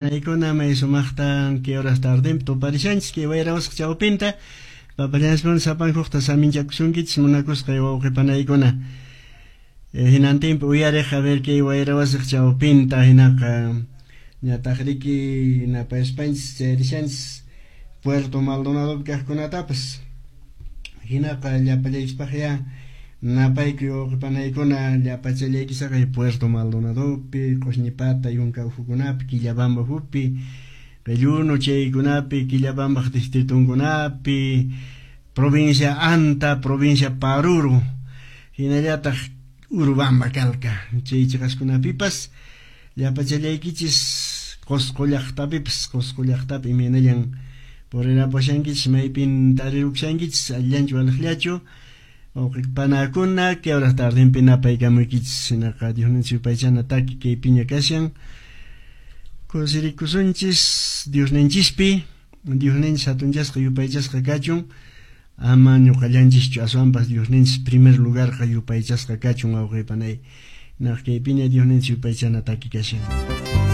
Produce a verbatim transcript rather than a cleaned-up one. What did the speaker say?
Panaykuna may sumaqta kay horas tardinpi tuparishanchis kay wayra wasaq chawpinta papallansman sapankuqta saminchakusunkichis munakusqay wawqi panaykuna hinantinpi uyariq a ver kay wayra wasiq chawpinta hinaqa ñataq riki napayaspanchis chayrishanchis Puerto Maldonadopi kaqkunatapas hinaqa llapallaykispaqya napaykuy wawqi panaykuna llapachallaykisaqa Puerto Maldonadopi Q'usñipata yunka ukhukunapi Quillabamba ukhupi Qilluno chaykunapi Quillabambaq distritunkunapi provincia Anta, provincia Paruro hinallataq Urubamba Calca chay chiqaskunapipas llapachallaykichis Qusqu llaqtapipas Qusqu llaqtapi imaynallan purirapushankichis maypin tarirukushankichis allinchu waliqllachu panakuna kay horas tardinpi napaykamuykichis hinaqa Diosninchis yupaychana taki kaypiña kashan kusirikusunchis Diosninchispi Diosninchis hatunchasqa yupaychasqa kachun ama ñuqallanchischu aswanpas Diosninchis primer lugarqa yupaychasqa kachun wawqi panay naq kaypiña Diosninchis yupaychana taki kashan.